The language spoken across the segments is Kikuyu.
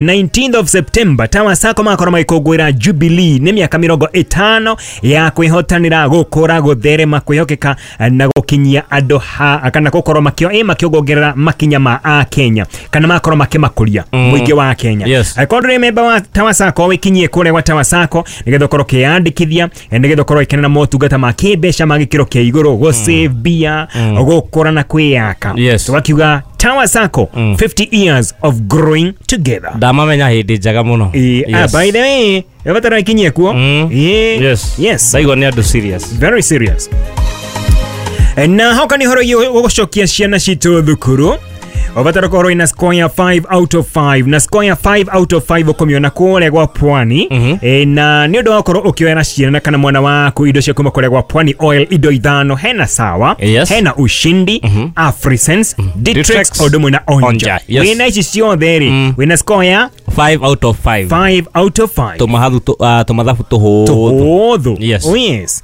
19th of September Tower Sacco makorwo magĩkũngũĩra Jubilee nĩ mĩaka 50 ya kwĩhotanĩra gũkũra gũtherema kwĩhokeka na gũkinyia andũ ha kana gũkorwo makĩongerera makinya ma a Kenya kana makorwo makĩmakũria mũingĩ wa Kenya. Angĩkorwo ndũrĩ memba wa Tower Sacco wĩkinyie kũrĩa gwa Tower Sacco nĩgetha ũkorwo ũkĩyandĩkithia nĩgetha ũkorwo ũgĩkenera motungata ma kĩmbeca ma gĩkĩro kĩa igũrũ gũ save mbia gũkũra na kwĩyaka. Tũgakiuga Tower Sacco 50 years of growing together. Ndamamenya hĩndĩ njega mũno. By the way, ĩbatara ikinyie kuo. Yes. Ndaigua nĩ andũ serious. Very serious. Na hoka nĩ ũhoro gũcokia ciana citũ thukuru. Ũbatara gũkorwo ina score ya 5 out of 5 na score ya 5 out of 5 ũkũmĩona kũrĩa gwa Pwani. Na nĩ ũndũ wa gũkorwo ũkĩoera ciana kana mwana waku indo cia kuma kũrĩa gwa Pwani Oil indo ithano hena sawa, hena ushindi, Afrisense, Ditrex o ũndũ na Onja. Wĩna ici ciothe rĩ, wĩna score ya 5 out of 5. 5 out of 5. Tũmathabu tũhũthũ. Yes. Oh yes.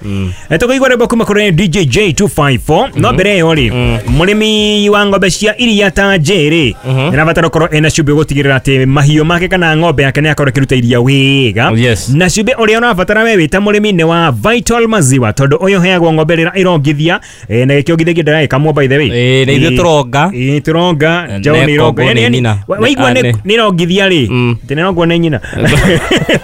Tũkaigua rwĩmbo kuma kũrĩ DJ J254. No mbere ĩyo rĩ, mũrĩmi wa ng'ombe cia iria ta J rĩ, nĩarabatara gũkorwo ena cumbĩ gũtigĩrĩra atĩ mahiũ make kana ng'ombe yake nĩakorwo ĩkĩruta iria wega. Na cumbĩ ũrĩa ũrabatara we wĩ ta mũrĩmi nĩ wa Vital Maziwa tondũ ũyũ ũheagwo ng'ombe rĩrĩa ĩrongithia na gĩkĩongithagia ndĩragĩkamwo by the way. Nĩ ithuĩ tũronga. Tũronga, njaũ nĩ ironga. Waigua nĩ ĩrongithia rĩ, atĩ nĩrongwo nĩ nyina.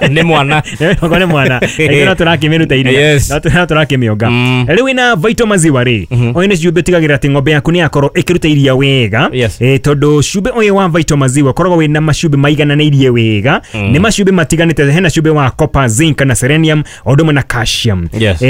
Nĩ mwana. Nĩrongwo nĩ mwana. Ithuĩ no tũrakĩmĩruta iria. No tũrakĩmĩonga. Rĩu wĩna Vital Maziwa rĩ, ũyũ nĩ cumbĩ ũtigagĩrĩra atĩ ng'ombe yaku nĩyakorwo ĩkĩruta iria wega. Tondũ cumbĩ ũyũ wa Vital Maziwa ũkoragwo wĩna macumbĩ maigananĩirie wega. Nĩ macumbĩ matiganĩte, hena cumbĩ wa copper, zinc na selenium o ũndũ ũmwe na calcium.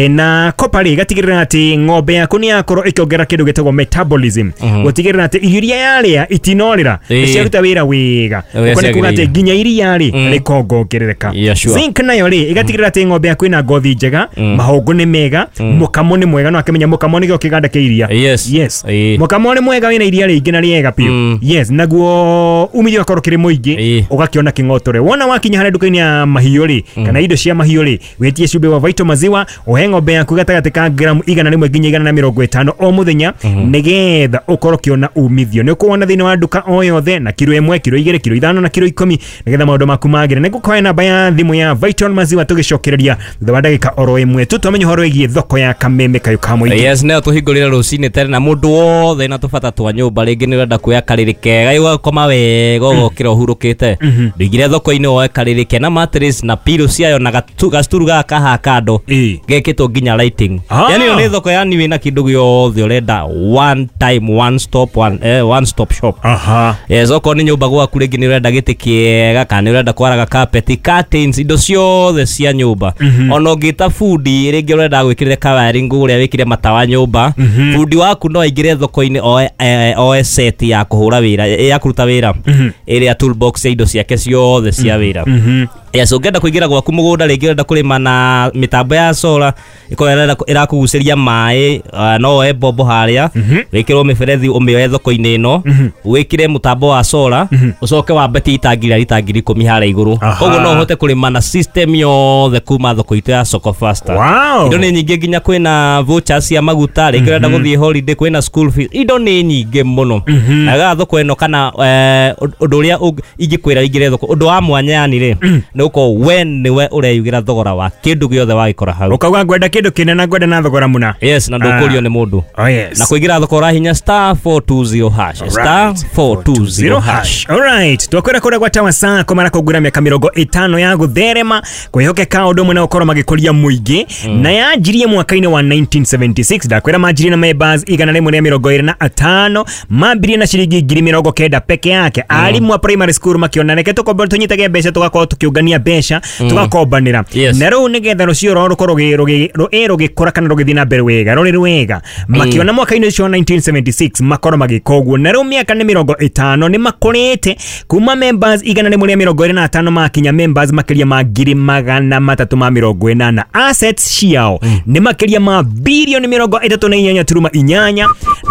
Na copper rĩ ĩgatigĩrĩra atĩ ng'ombe yaku nĩyakorwo ĩkĩongerera kĩndũ gĩtagwo metabolism. Gũtigĩrĩra atĩ irio iria yarĩa itinorĩra, nĩciaruta wĩra wega. Ũguo nĩ kuga atĩ nginya iria rĩ rĩkongongerereka. Zinc nayo rĩ ĩgatigĩrĩra atĩ ng'ombe yaku ĩna ngothi njega, mahũngũ nĩ mega, mũkamo nĩ mwega. No akĩmenya mũkamo nĩkĩo kĩganda kĩa iria. Yes. Mũkamo nĩ mwega wĩna iria rĩingĩ na rĩega biũ. Yes, naguo umithio ũgakorwo kĩrĩ mũingĩ, ũgakĩona kĩng'otore. Wona wakinya harĩa nduka-inĩ ya mahiũ rĩ, kana indo cia mahiũ rĩ, wĩtie cumbĩ wa Vital Maziwa, ũhe ng'ombe yaku gatagatĩ ka gramu 100 nginya 150 o mũthenya, nĩgetha ũkorwo ũkĩona umithio. Nĩ ũkuona thĩinĩ wa nduka o yothe na kiro 1, kiro 2, kiro 5 na kiro 10, nĩgetha maũndũ maku magĩre. Nĩ ngũkũhe namba ya thimũ ya Vital Maziwa tũgĩcokereria thutha wa ndagĩka oro ĩmwe tu twamenye ũhoro wĩgiĩ thoko ya Kameme kayũ ka mũingĩ. Yes, nĩyo tũhingũrĩre rũcinĩ tene na mũndũ wothe na tũbata twa nyũmba rĩngĩ nĩ ũrenda kuoya karĩrĩ kega ũgakoma wega ũgokĩra ũhurũkĩte. Ndũingĩre thoko-inĩ woe karĩrĩ kena mattress na pillow ciayo na gacuturu gaka kaha kando gekĩtwo nginya lighting. Yani ĩyo nĩ thoko yani wĩna kĩndũ gĩothe ũrenda, one time one stop one stop shop. Yes, okorwo nĩ nyũmba gwaku rĩngĩ nĩ ũrenda gĩtĩ kĩega kana nĩ ũrenda kwaraga carpet, curtains, indo ciothe cia nyũmba. Ona ũngĩta bundi rĩngĩ ũrenda gwĩkĩrĩra ka wiring ũrĩa wĩkĩre matawa nyũmba, bundi waku no aingĩre thoko-inĩ oe set ya kũhũra wĩra, ya kũruta wĩra, ĩrĩa toolbox ya indo ciake ciothe cia wĩra. Yes, ũngĩenda kũingĩra gwaku mũgũnda rĩngĩ ũrenda kũrĩma na mĩtambo ya solar ĩkorwo ĩrakũgucĩria maĩ, no woe mbombo harĩa wĩkĩrwo mĩberethi ũmĩoe thoko-inĩ ĩno, wĩkĩre mũtambo wa solar, ũcoke wambatie itangi rĩa rita 10,000 harĩa igũrũ. Koguo no ũhote kũrĩma na system yothe kuma thoko itũ ya Soko Faster. Indo nĩ nyingĩ, nginya kwĩna vouchers cia maguta, rĩngĩ ũrenda gũthiĩ holiday, kwĩna school fees, indo nĩ nyingĩ mũno. Na gaga thoko ĩno kana ũndũ ũrĩa ingĩkwĩra ingĩre thoko, ũndũ wa mwanya yani rĩ, nĩ ũkorwo we nĩwe ũreyugĩra thogora wa kĩndũ gĩothe wagĩkora hau. Ũkauga ngwenda kĩndũ kĩnene na ngwenda na thogora mũna. Yes, na ndũkũrio nĩ mũndũ. Na kũingĩra thoko ũrahinya *420#, *420#. Alright, twakwĩra kũrĩa gwa Tower Sacco marakũngũĩra mĩaka 50 ya gũtherema kwĩhokeka ũndũ ũmwe na gũkorwo magĩkũria mũingĩ, na yanjirie mwaka-inĩ wa 1976. Ndakwĩra manjirie na members 125, mambirie na ciringi 90,000 peke yake. Arimũ a primary school makĩona reke tũkombe tũnyitage mbeca tũgakorwo tũkĩũngania mbeca tũgakombanĩra. Na rĩu nĩgetha rũciũ rwao rũkorwo rũgĩkũra kana rũgĩthiĩ na mbere wega, rũrĩ rwega, makĩona mwaka-inĩ ũcio wa 1976 makorwo magĩka ũguo. Na rĩu mĩaka nĩ 50 nĩ makũrĩte kuma members 125 makinya members makĩria ma 380,000. Assets ciao nĩ makĩria ma bilioni 38.8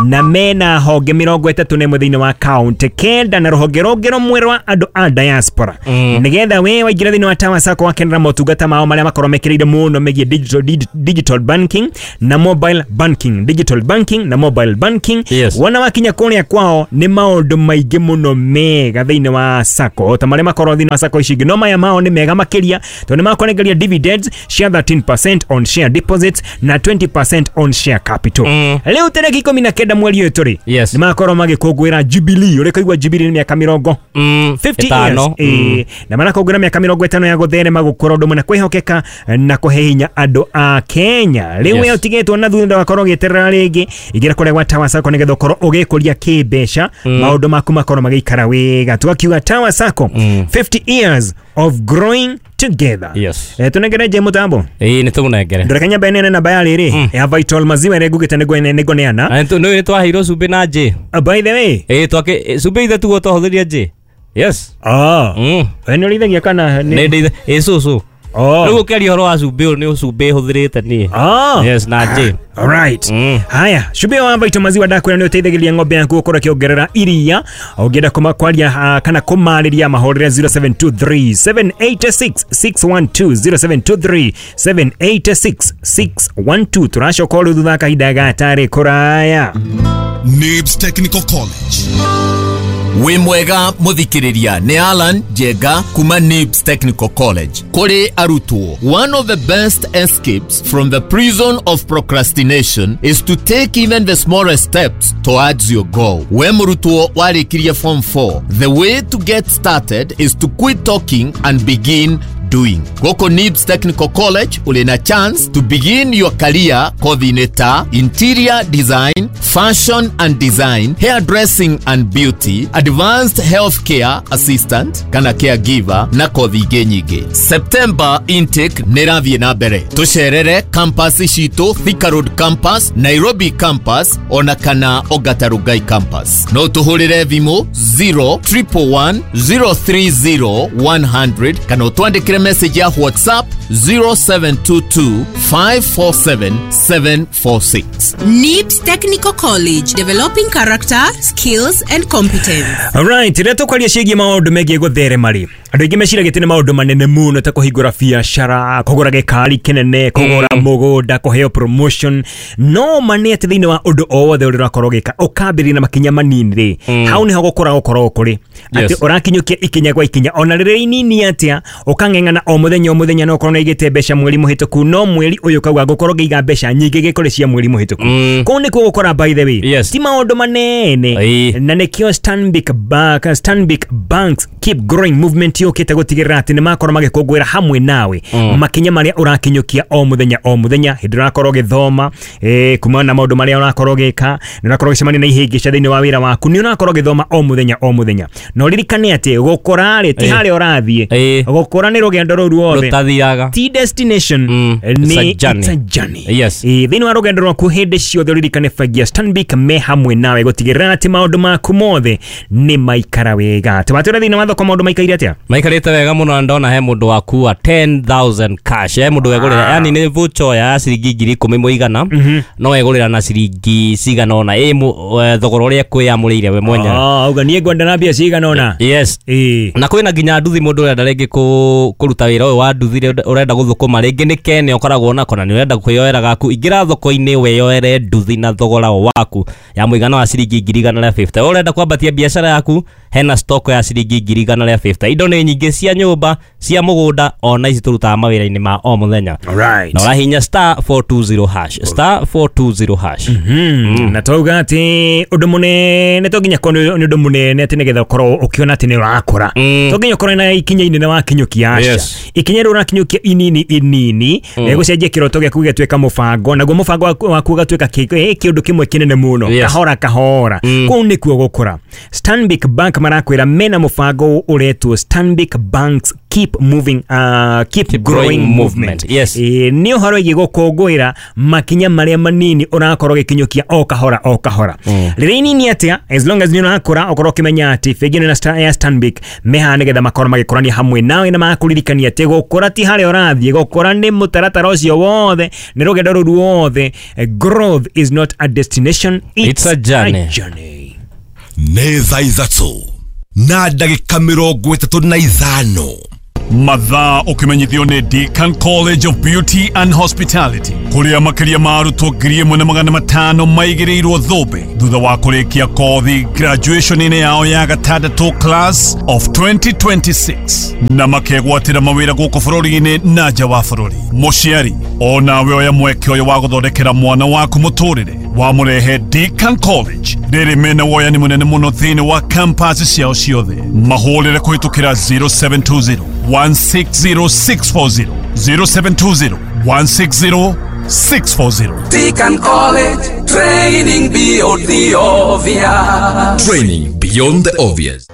na mena honge 31 thĩinĩ wa kaunti 9 na rũhonge rũngĩ rũmwe rwa andũ a diaspora. Nĩgetha we waingĩra Ingĩra thĩinĩ wa Tower Sacco wakenera motungata mao marĩa makorwo mekĩrĩire mũno megiĩ digital banking na mobile banking. Digital banking na mobile banking. Yes. Wona wakinya kũrĩa kwao nĩ maũndũ maingĩ mũno mega thĩinĩ wa Sacco ta marĩa makorwo thĩinĩ wa Sacco ici ingĩ, no maya mao nĩ mega makĩria tondũ nĩ makũnengeria dividends cia 13% on share deposits na 20% on share capital. Rĩu tarĩki 19 mweri ũyũ tũrĩ Yes. nĩ makorwo magĩkũngũĩra Jubilee. Ũrĩa kũigua Jubilee nĩ mĩaka mĩrongo 50 Ĩtano. years. Na marakũngũĩra mĩaka 50 ya gũtherema, gũkũra ũndũ mũna, kwĩhokeka na kũhe hinya andũ a Kenya. Rĩu Yes. we ũtigĩtwo na thutha ndũgakorwo ũgĩeterera rĩngĩ, ingĩra kũrĩa gwa Tower Sacco nĩgetha ũkorwo ũgĩkũria kĩmbeca, maũndũ maku makorwo magĩikara wega. Tũgakiuga Tower Sacco 50 years of growing together. Yes. Tũnengere nje mũtambo. Ĩĩ nĩ tũmũnengere. Ndoreka nyamba ĩnene namba ya rĩrĩ ya Vital Maziwa ĩrĩa ngugĩte nĩngũneana. Na nĩ twaheirwo cumbĩ na njĩ. By the way, Ĩĩ twake cumbĩ ithe tuo twahũthĩria njĩ. Yes. We nĩ ũrĩithagia kana Nĩ ndĩithe ĩĩ cũcũ. Oh. Rĩu ũkĩaria ũhoro wa cumbĩ ũyũ nĩ cumbĩ hũthĩrĩte niĩ. Yes, na njĩ. Alright. Haya, cumbĩ wa Vital Maziwa ndakwĩra nĩ ũteithagĩrĩria ng'ombe yaku gũkorwo ĩkĩongerera iria. Ũngĩenda kwaria kana kũmarĩria mahũrĩre 0723 786 612 0723 786 612. Tũracoka o rĩu thutha wa kahinda gatarĩ kũraya. Nibs Technical College. Wĩ mwega mũthikĩrĩria nĩ Alan Njenga kuma Nibs Technical College. Kũrĩ arutwo, one of the best escapes from the prison of procrastination is to take even the smallest steps towards your goal. We mũrutwo warĩkirie form 4, the way to get started is to quit talking and begin doing. Gũkũ Nibs Technical College ũrĩ na chance to begin your career kothi-inĩ ta interior design, fashion and design, hairdressing and beauty, advanced healthcare assistant kana caregiver na kothi ingĩ nyingĩ. September intake nĩ ĩrathiĩ na mbere. Tũcerere campus citũ Thika Road campus, Nairobi campus ona kana Ongata Rongai campus. No tũhũrĩre thimũ 0111 030 100 kana ũtwandĩkĩre message ya WhatsApp 0722 547 746. NIBS Technical College, developing character, skills and competence. Alright, rĩrĩa tũkwaria ciĩgiĩ maũndũ megiĩ gũtherema rĩ, andũ aingĩ meciragia atĩ nĩ maũndũ manene mũno ta kũhingũra biacara, kũgũra gĩkari kĩnene, kũgũra mũgũnda, kũheo promotion. No ma nĩ atĩ thĩinĩ wa ũndũ o wothe ũrĩa ũrakorwo ũgĩka ũkambĩrĩria na makinya manini rĩ, hau nĩho gũkũra gũkoragwo kũrĩ. Atĩ ũrakinyũkia ikinya gwa ikinya, ona rĩrĩa inini atĩa, ũkang'eng'ana o mũthenya o mũthenya, no ũkorwo nĩũigĩte mbeca mweri mũhĩtũku, no mweri ũyũ ũkauga ngũkorwo ngĩiga mbeca nyingĩ gĩkũrĩ cia mweri mũhĩtũku. Kũu nĩkuo gũkũra, by the way. Yes. Ti maũndũ manene. Na nĩkĩo Stanbic Banks Keep Growing Movement yũkĩte gũtigĩrĩra atĩ nĩ makorwo magĩkũngũĩra hamwe nawe makinya marĩa ũrakinyũkia o mũthenya o mũthenya, hĩndĩ ũrakorwo ũgĩthoma, kumana na maũndũ marĩa ũrakorwo ũgĩka, nĩ ũrakorwo ũgĩcemania na ihĩngĩca thĩinĩ wa wĩra waku, nĩ ũrakorwo ũgĩthoma o mũthenya o mũthenya. Na ũririkane atĩ gũkũra rĩ ti harĩa ũrathiĩ, gũkũra nĩ rũgendo rũu ruothe, Rũtathiaga. ti destination, It's a nĩ journey. it's a journey. Yes. Thĩinĩ wa rũgendo rwaku hĩndĩ ciothe ũririkane bengi ya Stanbic me hamwe nawe gũtigĩrĩra atĩ maũndũ maku mothe nĩ maikara wega. Tũbatũra thĩinĩ wa thoko maũndũ maikaire atĩa? Maikarĩte wega mũno na ndona he mũndũ wakua 10,000 cash. He mũndũ wegũrĩra, yani nĩ voucher ya ciringi 10,000 mũigana, no wegũrĩra na ciringi cigana ũna thogora ũrĩa kwĩyamũrĩire we mwenyewe. Auga niĩ ngwenda na mbia cigana ũna. Yes. Na kwĩna nginya nduthi mũndũ ũrenda rĩngĩ kũruta wĩra ũyũ wa nduthi ũrenda gũthũkũma, rĩngĩ nĩ kene ũkoragwo nako na nĩ ũrenda kwĩyoera gaku, ingĩra thoko-inĩ weyoere nduthi na thogora waku ya mũigana wa ciringi 150. Ũrenda kwambatia biacara yaku, hena stock ya ciringi 150. Indo nĩ nyingĩ cia nyũmba, cia mũgũnda, ona ici tũrutaga mawĩra-inĩ ma o mũthenya. Alright. Na ũrahinya star 420 hash, star 420 hash. Na twauga atĩ ũndũ mũnene to nginya korwo nĩ ũndũ mũnene atĩ nĩgetha ũkorwo ũkĩona atĩ nĩ ũrakũra, to nginya ũkorwo na ikinya inene wakinyũkia, aca. Yes. Ikinya rĩu ũrakinyũkia inini inini gũcenjia kĩroto gĩaku gĩgatuĩka mũbango, naguo mũbango waku ũgatuĩka kĩũndũ kĩmwe kĩnene mũno. Yes. Kahora kahora. Kũu nĩkuo gũkũra. Stanbic Bank marakwĩra mena mũbango ũretwo Stanbic Banks Keep Moving, Keep Growing Movement. Yes. Nĩ ũhoro wĩgiĩ gũkũngũĩra makinya marĩa manini ũrakorwo ũgĩkinyũkia o kahora o kahora. Rĩrĩa inini atĩa, as long as nĩ ũrakũra ũkorwo ũkĩmenya atĩ bengi ĩno ya Stanbic mehaha nĩgetha makorwo magĩkũrania hamwe nawe na magakũririkania atĩ gũkũra ti harĩa ũrathiĩ, gũkũra nĩ mũtaratara ũcio wothe, nĩ rũgendo rũu ruothe. Growth is not a destination, It's a journey. A journey. Nĩ thaa 3 na ndagĩka 35. Mathaa ũkĩmenyithio nĩ Deakin College of Beauty and Hospitality, kũrĩa makĩria ma arutwo 1500 maigĩrĩirwo thũmbĩ thutha wa kũrĩkia kothi graduation-inĩ yao ya gatandatũ class of 2026 na makegwatĩra mawĩra gũkũ bũrũri-inĩ na nja wa bũrũri. Mũciari onawe oya mweke ũyũ wa gũthondekera mwana waku mũtũrĩre wamũrehe Deakin College rĩrĩ mena woyani mũnene mũno thĩinĩ wa campus ciao ciothe. Mahũrĩre kũhĩtũkĩra 0720 160640, 0720 160 640. Deacon College, training beyond the obvious. Training beyond the obvious.